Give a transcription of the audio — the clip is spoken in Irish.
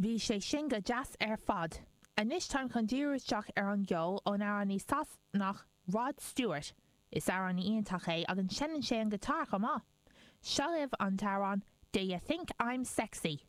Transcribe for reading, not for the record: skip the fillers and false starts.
Bhí sé sin go deas ar fad. Anois táim chun díriú isteach ar an gceol ón amhránaí Sasanach Rod Stewart. Is amhránaí iontach é agus seinneann sé an giotár chomh maith. Seo libh an t-amhrán Do You Think I'm Sexy?